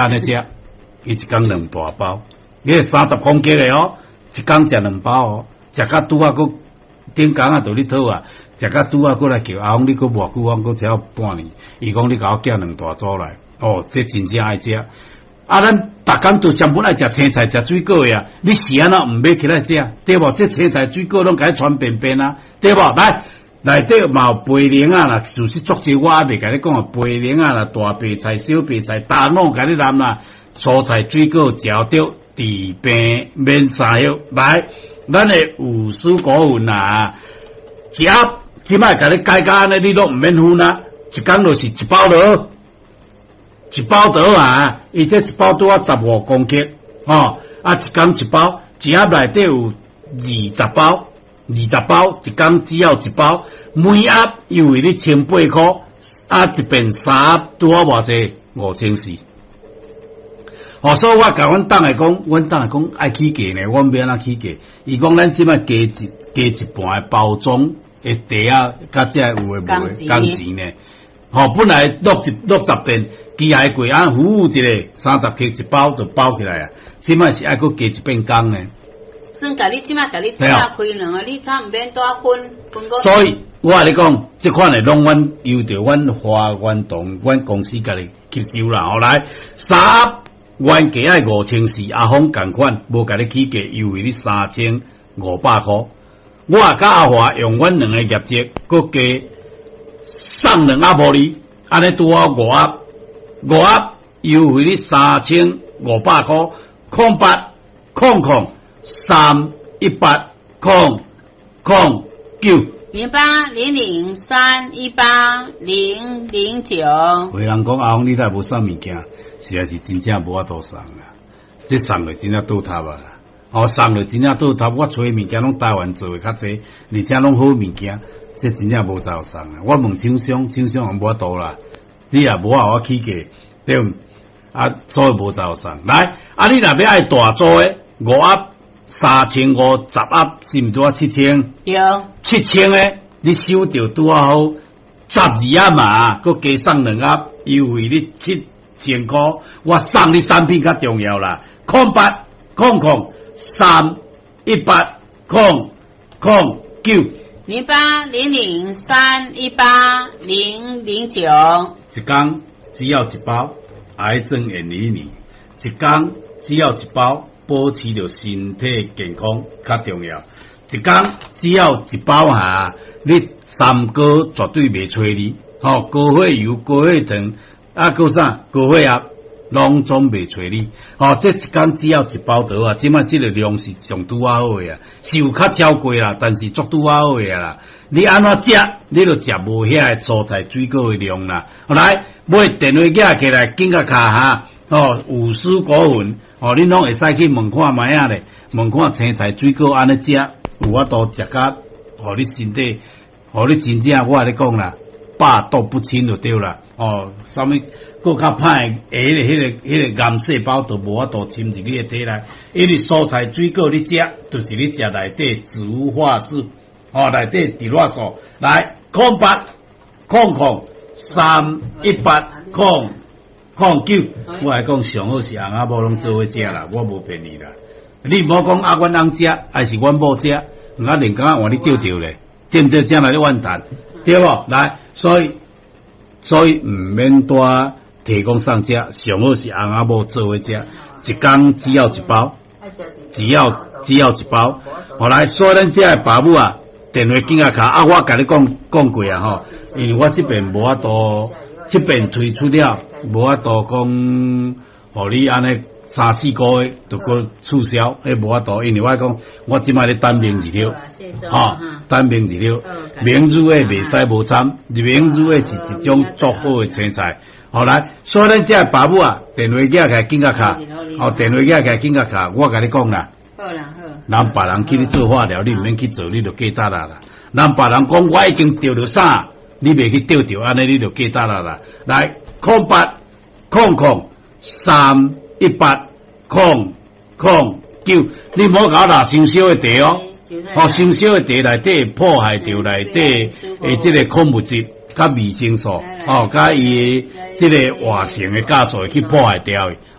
按呢食，伊一工兩大包，伊30公克的哦，一工食兩包哦，食甲拄仔閣頂工啊，就咧討啊，食甲拄仔閣來叫阿公，你閣偌久，我閣食半年，伊講你共我寄兩大組來，哦，這真正愛食。啊，咱逐工都上本愛食青菜、食水果的啊，你是按怎毋買起來食？對無？這青菜水果攏共你傳便便啊，對無？來，內底嘛有白靈仔啦，就是足濟我猶未共你講啊，白靈仔啦，大白菜、小白菜，大滷共你淋啦，蔬菜水果食著治病免三藥。來，咱的五蔬果粉啊，一盒這擺共你改甲按呢，你攏毋免分啊，一工就是一包落。一包倒啊！伊這一包拄仔15公克，吼啊！一工一包，一盒內底有二十包，二十包一工只要一包，每盒優惠你千八箍，啊一遍三盒拄好偌濟？5400。哦，所以我共阮董來講，阮董來講愛起價呢，阮欲按怎起價？伊講咱這擺加一半的包裝的袋仔，佮這有的無的仝錢呢。吼，本來60片，機械櫃按服務一下，30克一包就包起來啊。這擺是愛閣加一遍工呢。算共你這擺共你拆開兩個，你較毋免帶分分個。所以我共你講，這款的攏阮由著阮華源堂，阮公司家己吸收啦。後來三盒原價愛5400，阿峰仝款無共你起價，優惠你3500箍。我也佮阿華用阮兩個業績，閣加送兩盒予你，按呢拄好五盒，五盒優惠你3500箍，080003180009。 0800318009。有人講阿峰，你若無送物件，實在是真正無法度送啦。這送落真正倒塌啊！哦，送落真正倒塌，我揣物件攏台灣做的較濟，而且攏好物件，這真正無才送啊！我問廠商，廠商也無法度啦。你若無予我起價，對毋？啊，所以無才送。來，啊，你若欲愛大組的五盒3500，10盒是毋拄仔7000？對。7000的，你收著拄仔好12盒嘛，閣加送兩盒，優惠你7000箍。我送你產品較重要啦。0800318009。 0800318009。一工只要一包，癌症遠離你。一工只要一包，保持著身體健康較重要。一工只要一包哈，你三高絕對袂揣你。吼，高血油、高血糖，啊，閣啥高血壓，攏總袂揣你。吼，這一工只要一包就好啊。這擺這個量是上拄仔好的啊，是有較超過啦，但是足拄仔好的啊啦。你按怎食，你就食無遐个蔬菜水果的量啦。來，買電話寄起來，緊甲卡哈。哦，五蔬果粉，哦，恁攏會使去問看覓仔咧，問看青菜水果按呢食，有法度食甲，予你身體，予你真正我共你講啦，百毒不侵就對啦。哦，啥物閣較歹的，彼個癌細胞都無法度侵入你的體內，因為蔬菜水果你食，就是你食內底植物化素，哦，內底植物素，來0800318009，我來講上好是翁仔某攏做伙食啦，我無騙你啦。你毋好講啊，阮翁食，還是阮某食，我連感覺換你著著咧，對毋對？才來咧怨嘆，對無？來，所以毋免帶提供送食，上好是翁仔某做伙食，一工只要一包，只要一包。後來，所以咱這个爸母啊，電話緊仔敲啊，我共你講講過啊吼，因為我這邊無法度，這邊推出了無法度講，予你按呢三四個月就閣促銷，彼無法度，因為我講我這擺咧等明日了，吼，等明日了，明日的袂使無參，明日的是一種足好的青菜。後來，所以咱這个爸母啊，電話寄起來緊甲敲，哦，電話寄起來緊甲敲，我共你講啦。好啦好。人別人去你做化療，你毋免去做，你就過達啦啦。人別人講我已經著著啥，你袂去著著，按呢你就過達啦啦。來，0800318009，你毋好共我拿傷燒的茶哦，哦，傷燒的茶內底破壞著內底的這個礦物質。佮維生素，哦，佮伊這个活性的酵素會去破壞掉去。